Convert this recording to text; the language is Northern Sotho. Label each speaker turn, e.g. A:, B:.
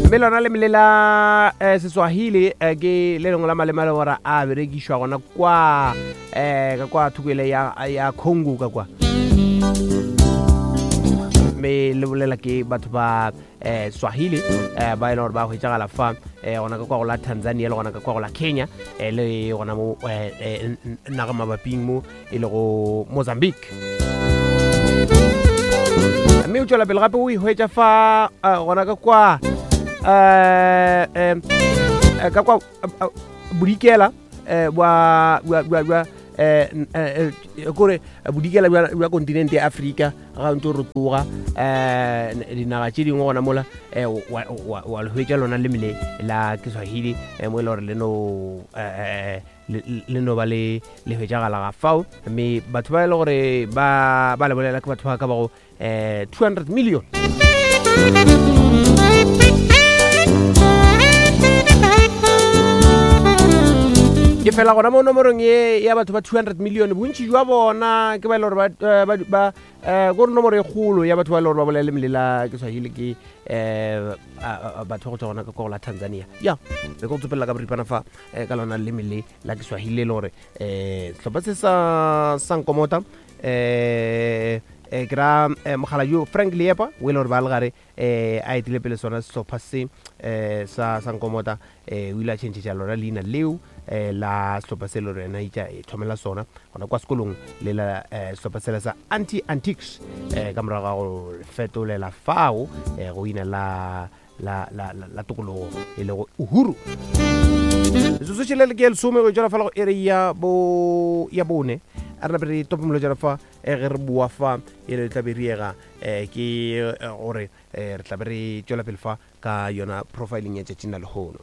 A: Mme lona leme le la eh, Seswahili eh, ke le lengwe la maleme a le gore a berekišwa gona kwa eh, ka kwa thoko ele ya, ya Congo ka kwa. Mme le bolela ke batho ba eh, Swahili eh, ba e leng gore ba hwetšagala fa eh, gona ka kwa go la Tanzania le gona ka kwa go la Kenya eh, le gona mo eh, eh, naga mabaping mo e lego Mozambique. Mme o tšwela pele gape o e hwetša fa eh, gona ka kwa eh, eh, eh, ka kwa eh, bodikela eh, bwa bwa bwa bwa eh, n- eh, eh, kore bodikela bja bja kontinente ya Afrika ga o ntse o rotoga um dinaga tše dingwe gona mola um wa wa le hwetša lona leme le la Kiswahili eh, mo e le gore le no eh, le le no ba le le hwetšagala ga fao mme batho ba e le gore ba ba le bolela ke batho ba ka bago um 200 million. Ke fela gona mo nomorong ye ya batho ba 200 million bontši jwa bona ke ba e le gore ba eh, ba ba eh, kore nomoro e kgolo ya batho ba e le gore ba bolela leme le la Kiswahili ke um batho ba go tswa gona ka kwa go la Tanzania. Ya be ke go tsopelela ka boripana fa eh, ka lona leme le la Kiswahili le gore um sehlopha se sa sa Nkomota eh eh ke ra eh, mogala yo Frank Leepa o e le gore ba le gare eh a etile pele sona sehlopha se eh sa sa Nkomota eh o ile a tšhentšhetša lona leina leo eh la sehlopha se le gore yena itša e thomela sona gona kwa sekolong le la eh, sehlopha sela sa Anti Antiques eh ka morago ga go fetolela fao eh go ina la la, la, la, la tokologo e lego Uhuru. Metsotso tšhelele ke ya lesome go tšwela fela go ere ya bo ya bone a re nape re tope molotšana fa eh, ge re boa fa e le tla be riega eh, ke eh, gore eh, re tla be re tšwela pele fa ka yona profiling ya tšatšing la lehono.